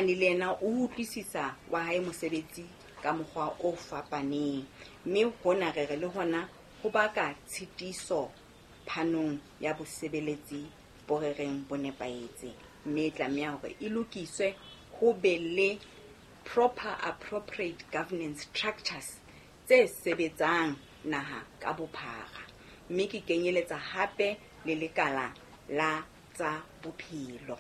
Mane le yena o utlwisisa wa hae mosebetsi ka mokgwa o fapaneng, mme hona re re le hona ho baka tshitiso phanong ya bosebeletsi bo re reng bo nepahetse, mme e tlameha hore e lokiswe ho be le proper appropriate governance structures tse sebetsang naha ka bophara, mme ke kenyeletsa hape le lekala la tsa bophelo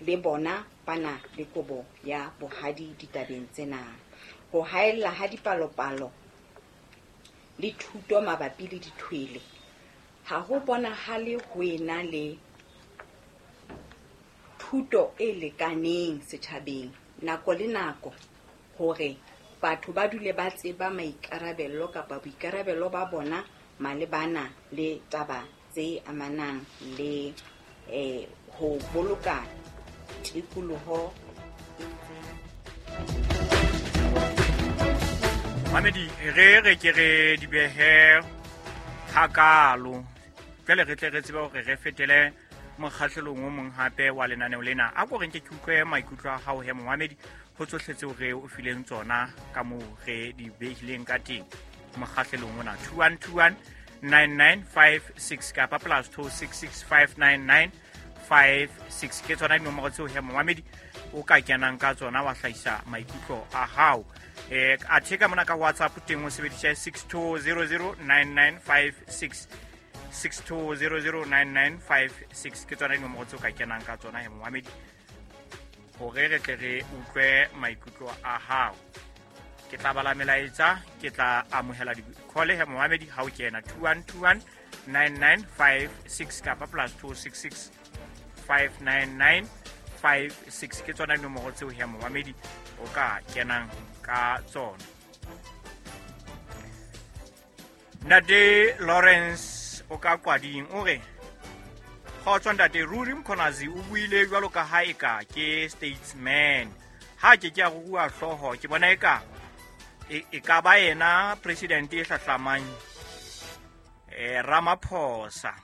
le bona bana le kobo ya bohadi ditabeng tsena. Ho haella ha dipalopalo le thuto mabapi le dithwele ha ho bonahale ho ena le thuto e lekaneng setjhabeng nako le nako hore batho ba dule ba tseba maikarabelo kapa boikarabelo ba bona malebana le taba tse amanang le ho boloka tikoloho. Mamedi re re ke re di behe hakalo jwale re tle re tsebe hore re fetele mokgahlelong o mong hape wa lenaneo lena. A ko re nke ke utlwe maikutlo a hao he momamedi ho tsohle tseo re o fileng tsona ka moo re di behileng ka teng mokgahlelong ona. 2121 9956 kapa plus 26659956 ke tsona dinomoro tseo he momamedi o ka kenang ka tsona wa hlahisa maikutlo a hao. Athe ka mona ka WhatsApp teng o sebedisa 62009956 62009956 ke tsona dinomoro tseo ka kenang ka tsona he momamedi hore re tle re utlwe maikutlo a hao. Ke tla bala melaetsa, ke tla amohela di-call he momamedi ha o kena 2121 9956 kapa plus 266 59956 ke tsona dinomoro tseo he momamedi o ka kenang ka tsona. Ntate Lawrence o ka Kwading o re kgotso ntate, ruri Mkhwanazi o buile jwalo ka ha eka ke statesman, ha ke ke a rua hlooho, ke bona eka e ka ba yena president e hlahlamang Ramaphosa.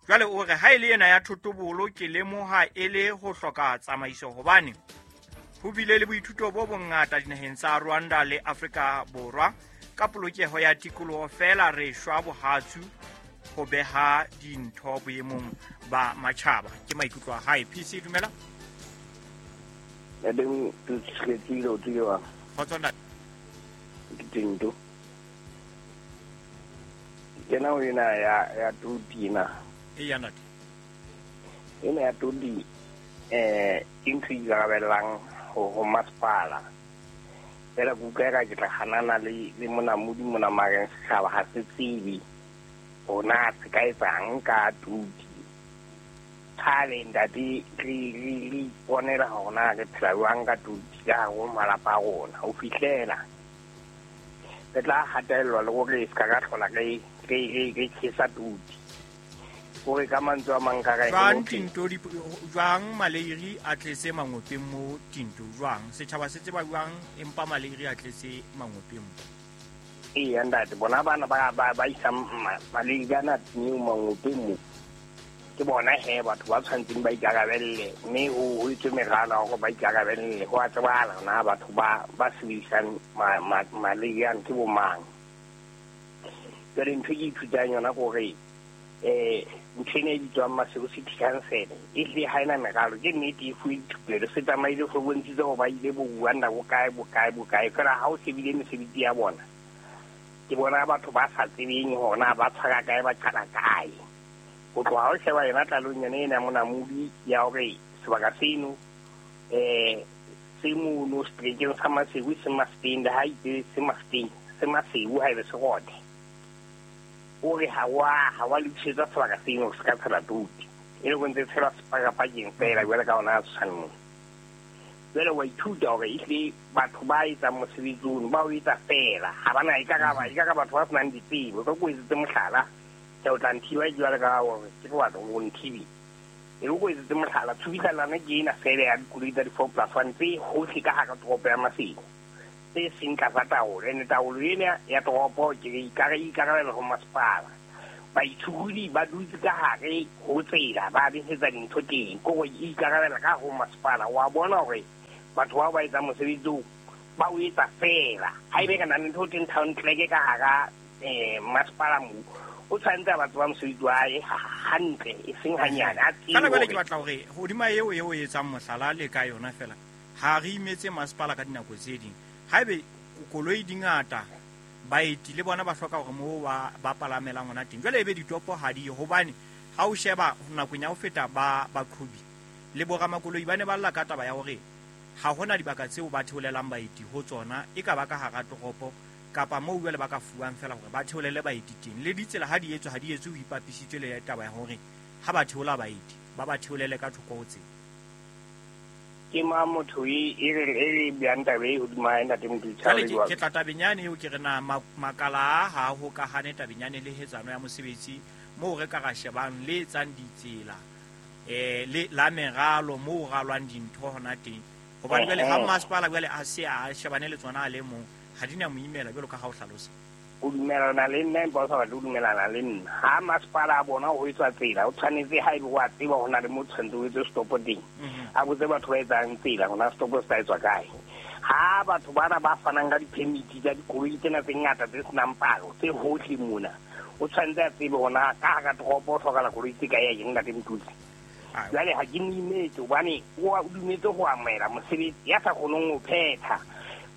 Jwale o re ha e le yena ya thotobolo ke lemoha e le ho hloka tsamaiso hobane ho bile le boithuto bo bongata dinaheng tsa Rwanda le Afrika Borwa ka polokeho ya tikoloho, fela re shwa bohatsu ho beha dintho boemong ba matjhaba. Ke maikutlo a hae. PC dumela. Ntate Tshietsile o tsile wa. Kgotso ntate. Ke tento. Kena o ena ya toti na. E ya ntate. Ena ya toti ke ntho e ikarabellang ho masepala. Fela ke utlwa eka ke tla hanana le monamodi mona mareng setjhaba ha se tsebe hona se ka etsang ka toti. Kgale ntate re iponela hore na re phela jwang ka toti ka hare ho malapa a rona ho fihlela re tla hatellwa le hore se ka ka hlola re tjhesa toti. Hore ka mantswe a mang ka re jwang tinto jwang maleiri a tletse mangopeng mo tinto jwang setjhaba se tseba jwang empa maleiri a tletse mangopeng mo. Eya ntate, bona bana ba isang maleiri ana neo mangopeng mo ke bona he batho ba tshwantseng ba ikarabelle, mme ho etswe meralo ya hore ba ikarabelle. Ho a tsebahala na batho ba sebedisang maleiri ano ke bo mang. Jwale ntho e ke ithutang yona ke hore ntho ena e bitswang Maseru City Council e hlile ha ena meralo. Ke nnete e fuwe dithupelo, se tsamaile se bontshitse hore ba ile bo Rwanda bokae bokae bokae, fela ha o shebile mesebetsi ya bona ke bona batho ba sa tsebeng hore na ba tshwara kae ba qala kae. Ho tloha ha o sheba yona tlalong yona ena monamodi ya hore sebaka seno se mono seterekeng sa Maseru se Maseteng, le ha itse se Maseteng se Maseru ha ebe se rote. O re ha wa lokisetsa sebaka seno se ka tshela toti, e le ho ntse tshelwa sepakapakeng fela jwale ka ona tshwanong. Jwale wa ithuta hore ehlile batho ba etsang mosebetsi ono ba o etsa fela, ha bana ekare batho ba senang ditsebo. Ka ko etsetse mohlala, ke o tla nthiba jwale ka hore ke batho o nthibe. E o etsetse mohlala, tshubitlana ke ena fela ya dikoloi tsa di-4+1 tse hohle ka hara toropo ya Maseru tse seng tlasa taolo. Ene taolo ena ya toropo ke ikarabela ho masepala. Baitshokodi ba dutse ka hare ho tsela ba besetsa dintho teng, ke hore e ikarabela ka ho masepala. Wa bona hore Batho bao ba etsang mosebetsi oo ba o etsa fela. Ha ebe ka na le ntho teng town clerk ka hara masepala moo, o tshwanetse a batho ba mosebetsi wa hae hantle, e seng hanyane. A tsebe Fela jwale ke batla hore hodima eo e o etsang mohlala le ka yona fela, ha re imetse masepala ka dinako tse ding. Haebe koloi di ngata, baeti le bona ba hloka hore moo ba palamelang hona teng. Jwale ebe ditopo ha di ye, hobane ha o sheba nakong ya ho feta ba baqhobi le boramakoloi ba ne ba lla ka taba ya hore ha hona dibaka tseo ba theolelang baeti ho tsona, e ka ba ka hara toropo kapa moo jwale ba ka fuwang fela hore ba theolele baeti teng. Le ditsela ha di etswe, ha di etswe ho ipapisitswe le taba ya hore ha ba theola baeti ba ba theolele ka thoko ho tsela. Ke ma motho e re bjang taba e hodima hae, ntate Moditjha, Jwale le jwang? Ke tla tabeng yane eo ke re na makala a ha hokahane tabeng yane le hetsano ya mosebetsi moo re ka ra shebang le etsang ditsela, le la meralo moo ralwang dintho hona teng. Hobane jwale ha masepala jwale a se a shebane le tsona a le mong, ha di na mo imela jwalo ka ha o hlalosa. O dumelana le nna, empa o sa batle ho dumelana le nna. Ha masepala a bona ho etswa tsela, o tshwanetse ha ebe wa tseba ho na le mo tshwanetse o etse stop teng. A botse batho ba etsang tsela hona stop se tla etswa kae. Ha batho bana ba fanang ka di-permit tsa dikoloi tsena tse ngata tse senang palo tse hohle mona, o tshwanetse a tsebe hona ka hara toropo o hlokahala koloi tse kae ya eng, ntate Motutsi. Jwale ha ke mo imetse hobane o dumetse ho amohela mosebetsi ya sa kgoneng ho phetha.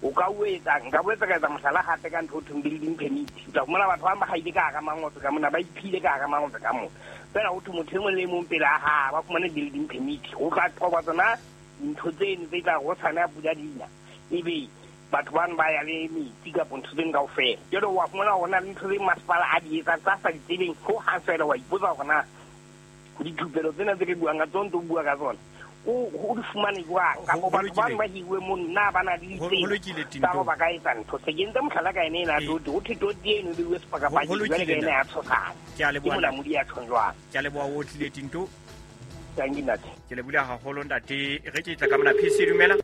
O ka o etsa, nka boetse ka etsa mohlala hape ka ntho ho thweng building permit. O tla fumana batho ba bang ba haile ka hara mangotse ka mona, ba iphile ka hara mangotse ka mona. Fela ho thwe motho e mong le e mong pele a hae ba fumane building permit. Ho tla qoba tsona dintho tseno tse tla ho tshwana pula dina, ebe batho bano ba ya le metsi kapa ntho tseno kaofela. Jwale wa fumana hore ho na le ntho tse masepala a di etsang tsa sa di tsebeng ho hang fela. Wa ipotsa hore na dithupelo tsena tse re buang ka tsona, ntse o bua ka tsona, o di fumane jwang? Kapa batho bano ba hiruwe mono, na ba na le Ho ditsela lokile, tsa hore Tinto. ba ka etsa ntho? Se ke entse mohlala ka ena ena toti, ho thwe toti eno e beuwe sepakapakeng, Ho jwale lokile, ka ena ntate. ya tshosana. Ke a Ke leboha, monamodi ya tjhong jwang? Ke a leboha, o tlile, Tinto. Thank you, ntate. Ke lebohile haholo, ntate. Re ke tla ka mona PC, dumela.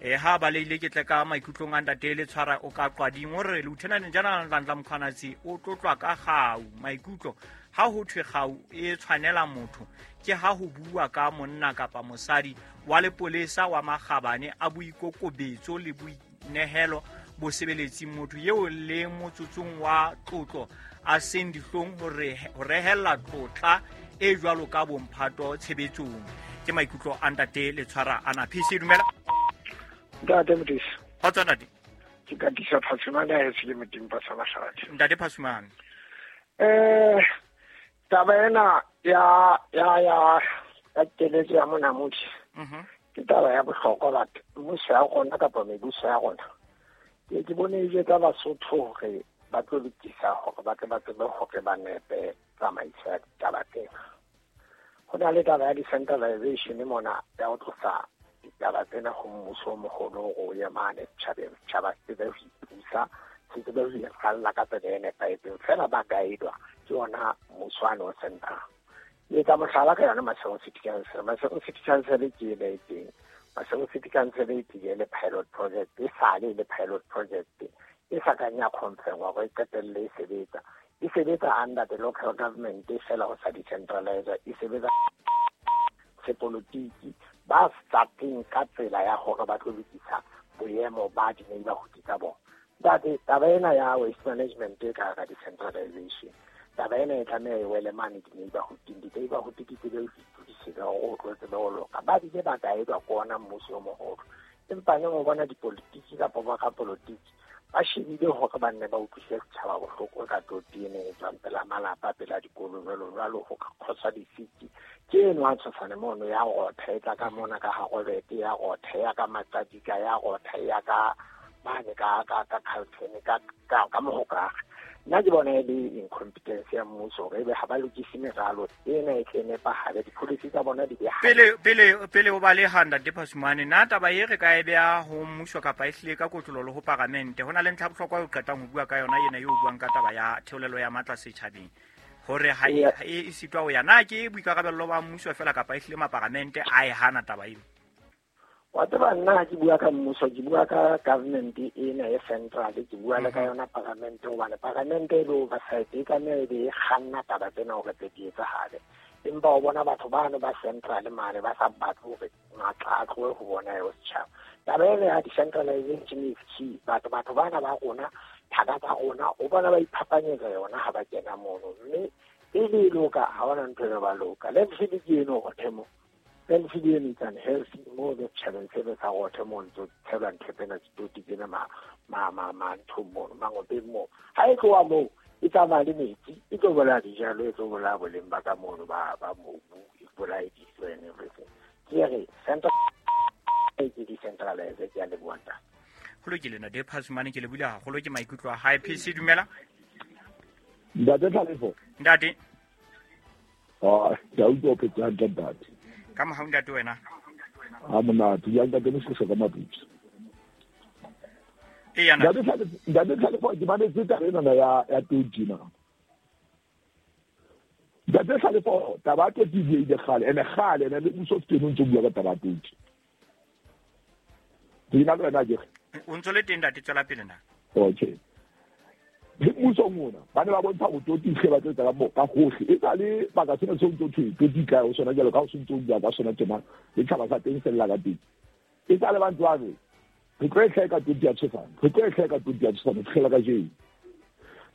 Ha ba leile ke tle ka maikutlong a ntate le tshwara o ka qwading o re Lieutenant General Nhlanhla Mkhwanazi o tlotlwa ka kgau. Maikutlo ha ho thwe kgau e tshwanela motho ke ha ho bua ka monna kapa mosadi wa lepolesa wa makgabane a boikokobetso le boinehelo bosebeletsing, motho eo le motsotsong wa tlotlo a seng dihlong ho rehella tlotla e jwalo ka bomphato tshebetsong. Ke maikutlo a ntate le tshwara ana. PC, dumela. Ntate Modise. Kgotso, ntate. Ke Katisa Phasumane a etse ke Modimo sa Mahlathi. Ntate Phasumane. Taba ena ya keletso ya monamodi. Ke taba ya bohlokwa batho. Mmuso ya rona kapa mebuso ya rona. Ke bone e jwetsa Basotho hore ba tlo lokisa hore ba tle ba tsebe hore ba nepe tsamaiso ya ditaba tsena. Ho na le taba ya decentralization mona ya ho tlosa ditaba tsena ho mmuso o moholo hore o ye mane setjhabeng, setjhaba se tsebe ho ipusa, se tsebe ho iralla ka tsela e nepahetseng. Feela ba guide-wa ke ona mmuso wane o central. Ke etsa mohlala ka yona Maseru City Council. Maseru City Council ke ena e teng. Maseru City Council e tlile le pilot project, e sale le pilot project e sa kang ya confirm-wa hore e qetelle e sebetsa. E sebetsa under the local government fela ho sa decentralize, e sebetsa sepolotiki ba sa teng ka tsela ya hore ba tlo lokisa boemo ba di-neighborhood tsa bona. Ntate, taba ena ya waste management e ka hara decentralization, taba ena e tlameha e wele mane di-neighborhood-ing. Di-neighborhood di tsebe ho itokisetsa hore o tlo tsebe ho loka. Ba bile ba guide-wa ke ona mmuso o moholo. Empa neng o bona dipolotiki kapa ba rapolotiki ba shebile hore ba nne ba utlwise setjhaba bohloko ka toti ena e tswang pela malapa, pela dikolo, jwalo jwalo, ho ka kgoswa disiki. Ke eno a tshosane mono ya rotha, e tla ka mona ka ha Robert, ya rotha, ya ka Maqadika, ya rotha, ya ka mane ka Carlton, ka Mohokare. Nna ke bona e le incompetence ya mmuso hore ebe ha ba lokise meralo ena e tle nepahale, di-policy tsa bona di be hantle. Pele o baleha, Ntate Phasumane, na taba e re ka e beha ho mmuso kapa e hlile ka kotlolo le ho paramente? Ho na le ntlha bohlokwa eo qetang ho bua ka yona ena eo o buang ka taba ya theolelo ya matla setjhabeng, hore ha e sitwa ho ya. Na ke boikarabello ba mmuso fela kapa e hlile maparamente a e hana taba eo? Wa tseba nna ha ke bua ka mmuso, ke bua ka government ena e central, ke bua le ka yona paramente, hobane paramente e le oversight, e tlameha e be e kganna taba tsena hore tse di etsahale. Empa o bona batho bano ba central mane ba sa batle hore matla a tlohe ho bona eo setjhaba. Taba ena ya decentralization is key. Batho bana ba rona, thaka tsa rona, o bona ba iphapanyetsa yona ha ba kena mono. Mme pele e loka, ha hona ntho e ba loka. Landfill ke eno Rothe mo. Landfill eno it's unhealthy mo setjhabeng sena sa Rothe mo ntso tshelwa ntho tsena ditoti tsena ma nthong mono, mangopeng moo. Ha e tloha moo, e tsamaya le metsi, e tlo bolaya dijalo, e tlo bolaya boleng ba ka mono ba mobu, e bolaye dijo and everything. Ke re central ke decentralize, ke a leboha ntate. Ho lokile ntate Phasumane, ke lebohile haholo ke maikutlo a hae. PC dumela. Ntate Tlhalefo. Ntate. Ah, ke a utlwa o phetse hantle ntate. Ka mohau ntate wena. Ha monate, ya ntate Moshweshwe ka Maputsu. Eya ntate. Ntate Tlhalefo, ke mametse taba enana ya toti na. Ntate Tlhalefo, taba ya toti e buile kgale, ene kgale, ene le mmuso o teng o ntso bua ka taba ya toti. Ke na le wena ke re. O ntso le teng ntate, tswela pele na. Okay. Le mmusong ona, ba ne ba bontsha hore toti e hle ba tlo etsa ka hohle. E sa le baka sena seo ntso thwe toti kae ho sona jwalo ka ho se ntso bua ka sona tjena, le tjhaba sa teng se lla ka teng. E sa le ba ntse ba re, re tlo e hleka toti ya Tshosane, re tlo e hleka toti ya Tshosane, ho fihlela kajeno.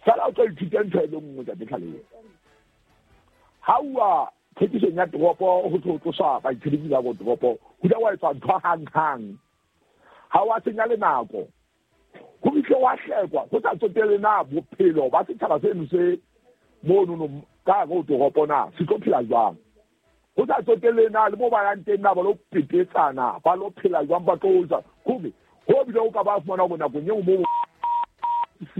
Sala o tlo ithuta ntho e le nngwe ntate Tlhalefo. Ha uwa thekisong ya toropo ho tlo tloswa baitshebetsi ba ko toropo, ho ile wa etswa ntho hang-hang. Ha wa senya le nako. Ho fihle wa hlekwa, ho sa tsotelle na bophelo ba setjhaba seno se monono ka hare ho toropo na, se tlo phela jwang. Ho sa tsotelle na le mo ba yang teng na ba lo petetsana, ba lo phela jwang, ba tlo ja. Hore ho bile o ka ba fumana hore nakong eo mo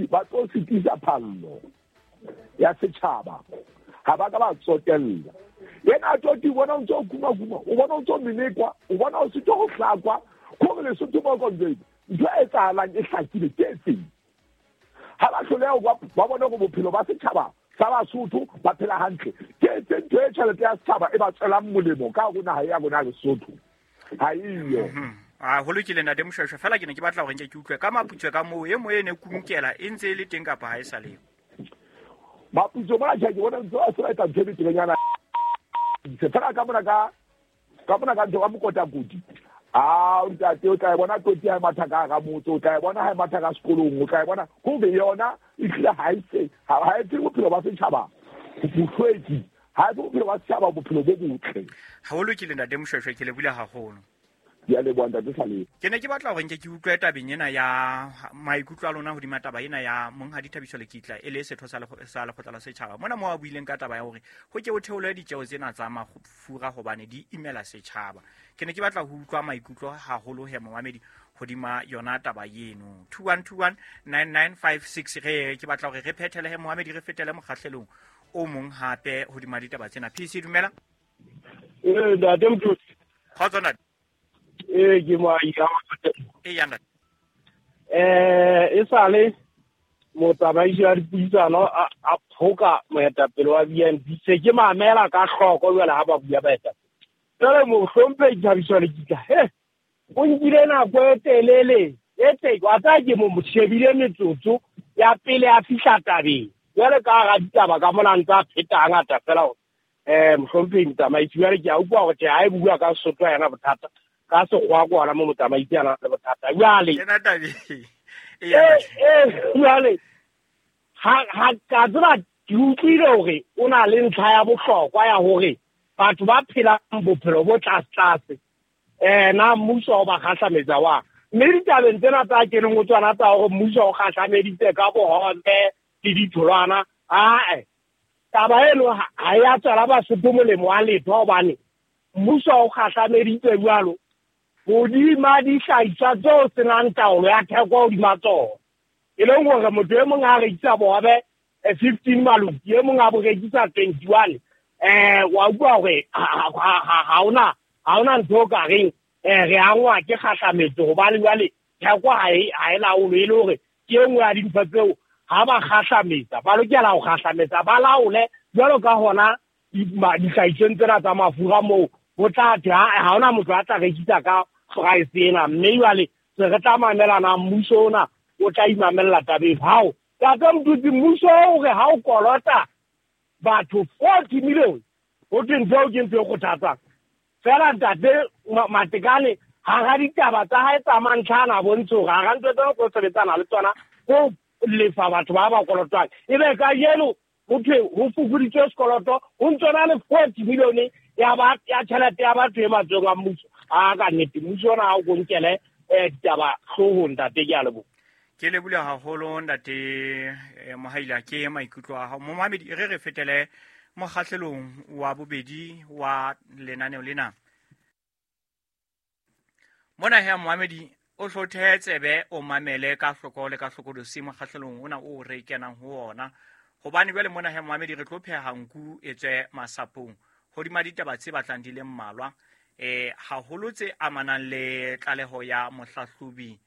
ba tlo sitisa phallo ya setjhaba. Ha ba ka ba tsotella. Yena a tlo ti bona o ntso kuma-kuma, o bona o ntso menekwa, o bona o sitwa ho hlakwa, hore Lesotho ba konjwe. Ntho e etsahalang e hlakile ke e feng? Ha ba hloleha ba bone hore bophelo ba setjhaba sa Basotho ba phela hantle. Ke e feng ntho e tjhelete ya setjhaba e ba tswelang molemo ka hare ho naha ya rona ya Lesotho? Ha eyo. Ah, ho lokile ntate Moshweshwe, fela ke ne ke batla hore nke ke utlwe ka Maputsoe ka moo e mo e ne kunkela e ntse e le teng kapa ha e sa le. Maputsoe mona tjhe, ke bona ntse ba se ba etsa ntho e beterenyana. Se fela ka mona ka ntho ka mokotakoti. Ah, ntate o tla e bona toti ha e matha ka hara motse, o tla e bona ha e matha ka sekolong, o tla e bona hore yona e hlile ha e se, ha e fe bophelo ba setjhaba bohlweki, ha e fe bophelo ba setjhaba bophelo bo botle. Ha ho lokile ntate Moshweshwe, ke lebohile haholo. Ke a leboha ntate Tlhalefo. Ke ne ke batla hore nke ke utlwe tabeng ena ya maikutlo a lona hodima taba ena ya Monghadi Thabiso Lekitla e le setho sa lekgotla la setjhaba. Mona moo a buileng ka taba ya hore ho ke ho theolwe ditjeo tsena tsa mafura hobane di imela setjhaba. Ke ne ke batla ho utlwa maikutlo haholo he momamedi hodima yona taba eno. 21219956 re ke batla hore re phethele he momamedi, re fetele mokgahlelong o mong hape hodima ditaba tsena. PC dumela. Ntate Mthutsi. Kgotso ntate. Ke mo ya e ya ntate. E sale motsamaisi wa dipuisano a phoka moetapele wa BNP, se ke mamela ka hloko jwale ha ba bua baetapele. Jwale mohlomphehi Thabiso Lekitla, he o nkile nako e telele e teng, wa tsaya ke mo shebile metsotso ya pele a fihla tabeng. Jwale ka hara ditaba ka mona ntse a pheta hangata fela hore mohlomphehi motsamaisi, jwale ke a utlwa hore tjhe ha e bua ka Sesotho ha ena bothata, ka sekgowa ke hona mo motsamaisi a nang le bothata. Jwale jwale ha ka tseba ke utlwile hore o na le ntlha ya bohlokwa ya hore batho ba phelang bophelo bo tlase-tlase na mmuso o ba kgahlametsa wa. Mme ditabeng tsena tsa keneng ho tsona tsa hore mmuso o kgahlameditse ka bohobe le ditholwana, ae taba eno ha ya tswela Basotho molemo wa letho, hobane mmuso o kgahlameditse jwalo hodima dihlahiswa tseo senang taolo ya theko hodima tsona. E leng hore motho e mong a rekisa bohobe 15 maloki, e mong a bo rekisa 21. Wa utlwa hore ha hona ntho o ka reng re angwa ke kgahlametso, hobane jwale theko ha e laolwe, e le hore ke e nngwe ya dintho tseo ha ba kgahlametsa ba lokela ho kgahlametsa ba laole jwalo ka hona dihlahisweng tsena tsa mafura moo ho tla thwe ha hona motho a tla rekisa ka price ena. Mme jwale se re tla mamelana, mmuso ona o tla imamella tabeng. Hao tata Mthutsi, mmuso o re ha o kolota batho 40 million, ho thwe ntho eo ke ntho e kgothatsang. Fela ntate Matekane Hara ditaba tsa hae tsa mantlha ana bontshe hore hara ntho tsena tlo sebetsana le tsona ho lefa batho ba ba kolotwang. Ebe kajeno ho thwe ho fokoditswe sekoloto, ho ntso na le 40 million ya ba ya tjhelete ya batho e matsohong a mmuso. A ka nnete mmuso ona ha o konkele ditaba hloohong ntate, ke a leboha. Ke lebohile haholo ntate Mohaila ke maikutlo a hao. Momamedi, re fetele mokgahlelong wa bobedi wa lenaneo lena. Mona he momamedi o hlothe tsebe o mamele ka hloko le ka hlokolosi mokgahlelong ona o re kenang ho ona. Hobane jwale mona he momamedi re tlo pheha nku e tswe masapong hodima ditaba tse batlang di le mmalwa, haholo tse amanang le tlaleho ya mohlahlobi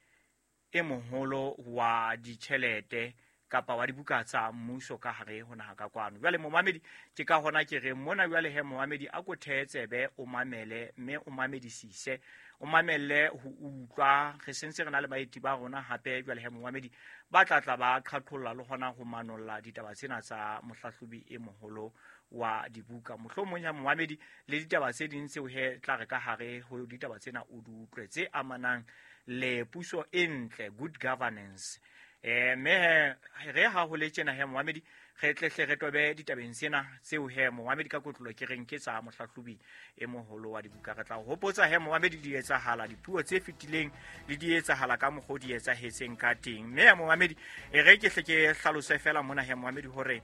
e moholo wa ditjhelete kapa wa dibuka tsa mmuso ka hare ho naha ka kwano. Jwale momamedi ke ka hona ke re mona jwale he momamedi a ko thehe tsebe o mamele mme o mamedisise, o mamelle ho utlwa. Re sentse re na le baeti ba rona hape jwale he momamedi ba tla tla ba qhaqholla le hona ho manolla ditaba tsena tsa mohlahlobi e moholo wa dibuka. Mohlomong ya momamedi le ditaba tse ding tseo he tla re ka hare ho ditaba tsena o di utlwe tse amanang le puso e ntle, good governance. Mme re ha ho le tjena he momamedi re tlehle re tobe ditabeng tsena tseo he momamedi ka kotlolo ke reng ke tsa mohlahlobi e moholo wa dibuka. Re tla hopotsa he momamedi di etsahala dipuo tse fetileng le di etsahala ka mokgwa o di etsahetseng ka teng. Mme momamedi e re ke hle ke hlalose fela mona he momamedi hore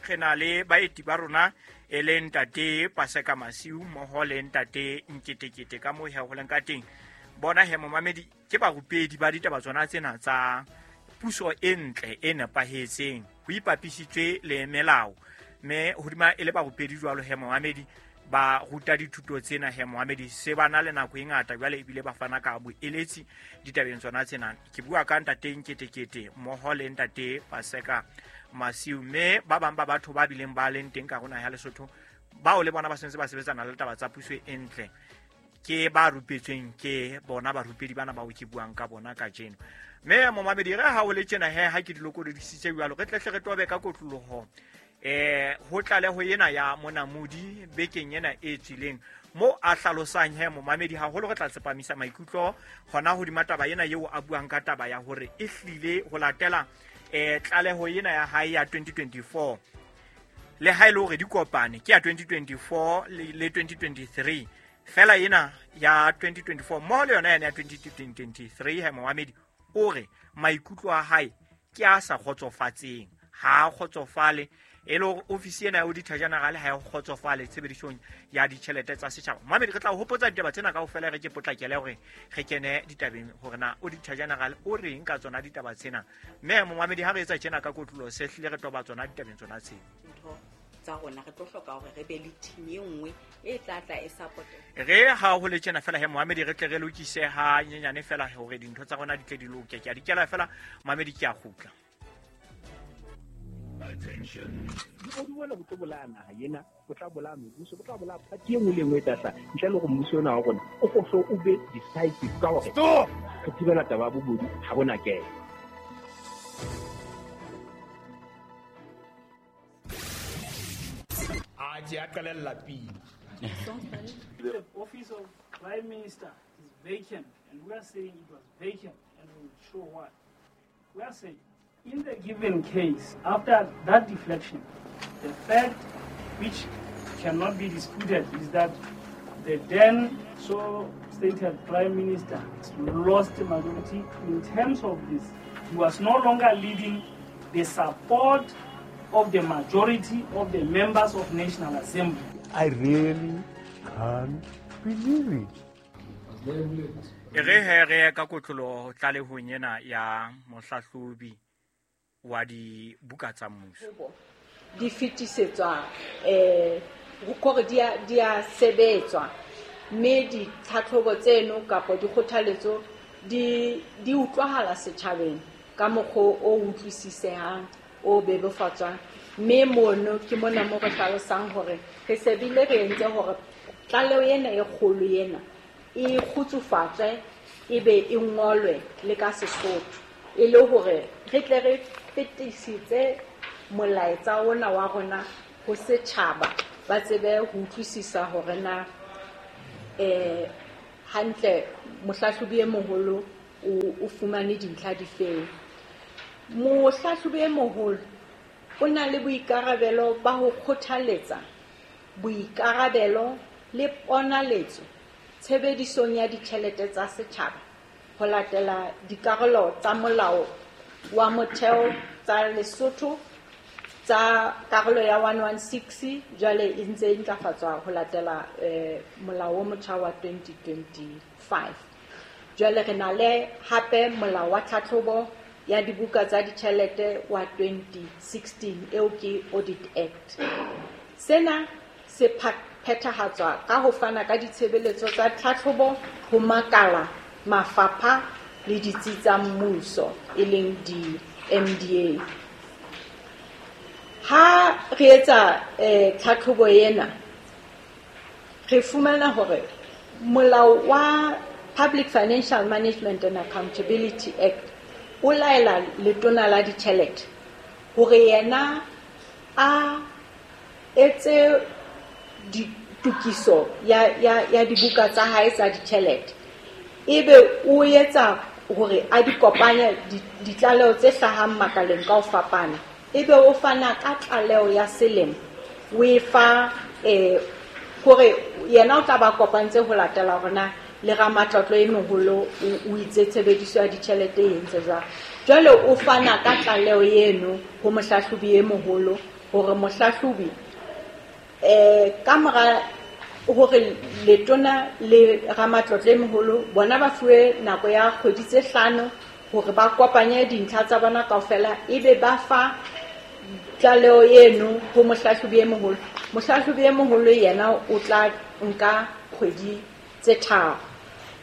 re na le baeti ba rona e leng ntate Paseka Masiu mmoho le ntate Nketekete ka moo he ho leng ka teng. Bona he momamedi ke barupedi ba ditaba tsona tsena tsa puso e ntle e nepahetseng ho ipapisitswe le melao, mme hodima e le barupedi jwalo he momamedi ba ruta dithuto tsena he momamedi se ba na le nako e ngata jwale ebile ba fana ka boeletsi ditabeng tsona tsena. Ke bua ka ntate Nketekete mmoho le ntate Paseka Masiu, mme ba bang ba batho ba bileng ba leng teng ka rona ya Lesotho bao le bona ba sentse ba sebetsana le taba tsa puso e ntle ke ba rupetsweng ke bona barupedi bana bao ke buang ka bona kajeno. Mme momamedi re ha o le tjena he ha ke di lokolodisitse jwalo re tlehle re tobe ka kotloloho ho tlaleho ena ya monamodi bekeng ena e tswileng mo a hlalosang he momamedi haholo re tla tsepamisa maikutlo hona hodima taba ena eo a buang ka taba ya hore e hlile ho latela tlaleho ena ya hae ya 2024 le ha e le hore di kopane ke ya 2024 le 2023 fela ena ya 2024 mmoho le yona yane ya 2023 he momamedi o re maikutlo a hae ke a sa kgotsofatseng, ha a kgotsofale e le hore ofisi ena ya Auditor General ha e kgotsofale tshebedisong ya ditjhelete tsa setjhaba. Momamedi re tla hopotsa ditaba tsena kaofela re ke potlakele hore re kene ditabeng hore na Auditor General o reng ka tsona ditaba tsena. Mme momamedi ha re etsa tjena ka kotlolo se hlile re toba tsona ditabeng tsona tsena tsa rona, re tlo hloka hore re be le team e nngwe e tla tla e support. Re ha ho le tjena fela he momamedi re tle re lokise ha nyenyane fela hore dintho tsa rona di tle di loke. Ke a di kela fela momamedi ke a kgutla. Bobodu bona bo tlo bolaya naha ena, bo tla bolaya mebuso, bo tla bolaya party e nngwe le nngwe e tla hlaha. Ntle le hore mmuso ona wa rona o kgohle o be decisive ka hore re thibela taba ya bobodu ha bona kelo. The office of Prime Minister is vacant, and we are saying it was vacant, and we will show why. We are saying, in the given case, after that deflection, the fact which cannot be disputed is that the then so stated Prime Minister lost the majority in terms of this. He was no longer leading the support of the majority of the members of National Assembly. I really can't believe it. Re he re ka kotlolo tlalehong ena ya mohlahlobi wa dibuka tsa mmuso. Di fetisetswa hore di a sebetswa, mme ditlhatlhobo tseno kapa dikgothaletso di utlwahala setjhabeng ka mokgwa o utlwisisehang o bebofatswang. Mme mono ke mona mo re hlalosang hore re se bile re entse hore tlaleho ena e kgolo ena e kgutsufatswe e be e ngolwe le ka Sesotho, e le hore re tle re fetisitse molaetsa ona wa rona ho setjhaba, ba tsebe ho utlwisisa hore na hantle mohlahlobi e moholo o fumane dintlha difeng. Mohlahlobi e moholo o na le boikarabelo ba ho kgothaletsa boikarabelo le ponaletso tshebedisong ya ditjhelete tsa setjhaba ho latela dikarolo tsa molao wa motheo tsa Lesotho tsa karolo ya 116 jwale e ntse e ntlafatswa ho latela molao o motjha wa 2025. Jwale re na le hape molao wa tlhatlhobo ya dibuka tsa ditjhelete wa 2016 eo ke Audit Act. Sena se phethahatswa ka ho fana ka ditshebeletso tsa tlhatlhobo ho makala, mafapha le ditsi tsa mmuso e leng di-MDA. Ha re etsa tlhatlhobo ena, re fumana hore molao wa Public Financial Management and Accountability Act o laela letona la ditjhelete hore yena a etse ditokiso ya dibuka tsa hae tsa ditjhelete, ebe o etsa hore a di kopanye ditlaleho tse hlahang makaleng ka ho fapana, ebe o fana ka tlaleho ya selemo o e fa hore yena o tla ba kopantse ho latela hore na le ramatlotlo e moholo o itse tshebediso ya ditjhelete e entse jwang. Jwale o fana ka tlaleho eno ho mohlahlobi e moholo hore mohlahlobi ka mora hore letona le ramatlotlo e moholo bona ba fuwe nako ya kgwedi tse 5 hore ba kopanye dintlha tsa bona kaofela, ebe ba fa tlaleho eno ho mohlahlobi e moholo. Mohlahlobi e moholo yena o tla nka kgwedi tse 3.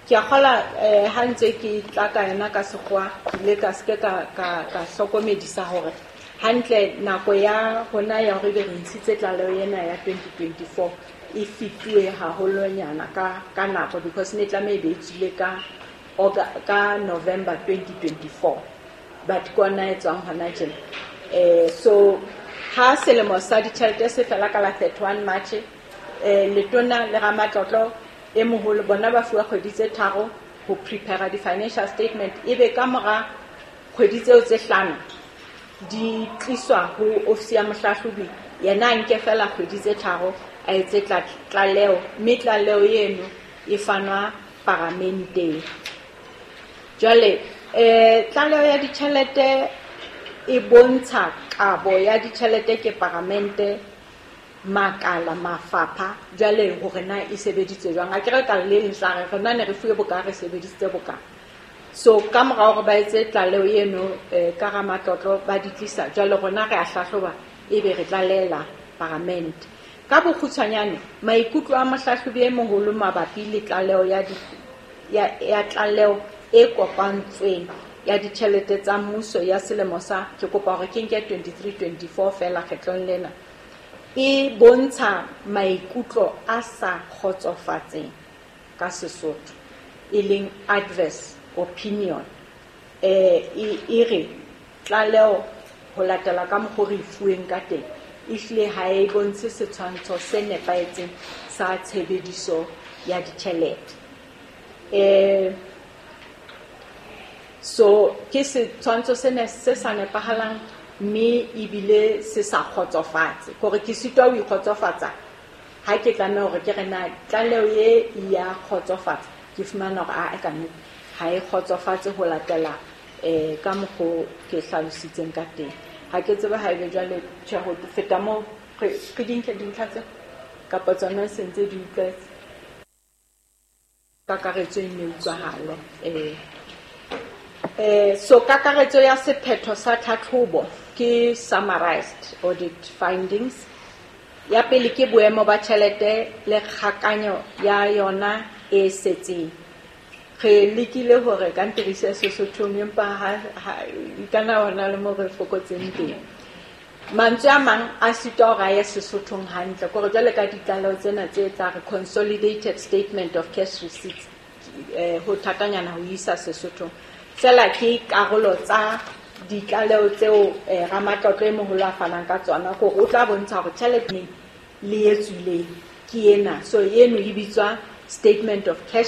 Ke a kgola ha ntse ke tla ka yona ka sekgowa, ke ile ka seke ka hlokomedisa hore hantle nako ya rona ya hore ebe re ntshitse tlaleho ena ya 2024 e fetuwe haholonyana ka nako, because ne tlameha e be e tswile ka November 2024, but ke ona e tswang hona tjena. So ha selemo sa ditjhelete se fela ka la 31 March, letona le ramatlotlo e moholo bona ba fuwa kgwedi tse 3 ho prepare di-financial statement, ebe ka mora kgwedi tseo tse 5 di tliswa ho ofisi ya mohlahlobi, yena a nke fela kgwedi tse 3 a etse tlaleho, mme tlaleho eno e fanwa paramenteng. Jwale tlaleho ya ditjhelete e bontsha kabo ya ditjhelete ke paramente, makala, mafapha, jwale hore na e sebeditswe jwang. A ke re ka le leng tla re rona ne re fuwe boka, re sebedisitse boka. So ka mora hore ba etse tlaleho eno ka ramatlotlo ba di tlisa, jwale rona re a hlahloba ebe re tlalehela paramente. Ka bokgutshwanyane, maikutlo a mohlahlobi e moholo mabapi le tlaleho ya tlaleho e kopantsweng ya ditjhelete tsa mmuso ya selemo sa, ke kopa hore ke nke 23-24 feela kgetlong lena, e bontsha maikutlo a sa kgotsofatseng ka Sesotho, e leng adverse opinion. E re tlaleho ho latela ka mokgwa re e fuweng ka teng ehlile ha e bontshe setshwantsho se nepahetseng sa tshebediso ya ditjhelete. So ke setshwantsho se sa nepahalang mme ebile se sa kgotsofatse, hore ke sitwa ho ikgotsofatsa ha ke tlameha hore ke re na tlaleho e ya kgotsofatsa, ke fumana hore a ka nnete ha e kgotsofatse ho latela ka mokgo ke hlalositseng ka teng. Ha ke tsebe ha ebe jwale tjhe ho feta moo re di nke dintlha tse kapa tsona se ntse di utlwetse kakaretso e ne utlwahale. So kakaretso ya sephetho sa tlhatlhobo ke summarized audit findings. Ya pele ke boemo ba tjhelete le kgakanyo ya yona e setseng. Re lekile hore ka ntirise Sesothong, empa ha kana hona le mo re fokotseng teng. Mantswe a mang a sitwa hore a ye Sesothong hantle, kore jwale ka ditlaleho tsena tse tla re consolidated statement of cash receipts, ho thatanyana ho isa Sesothong. Fela ke karolo tsa ditlaleho tseo ramatlotlo e moholo a fanang ka tsona, hore o tla bontsha hore tjhelete le e tswileng ke ena. So eno e bitswa statement of cash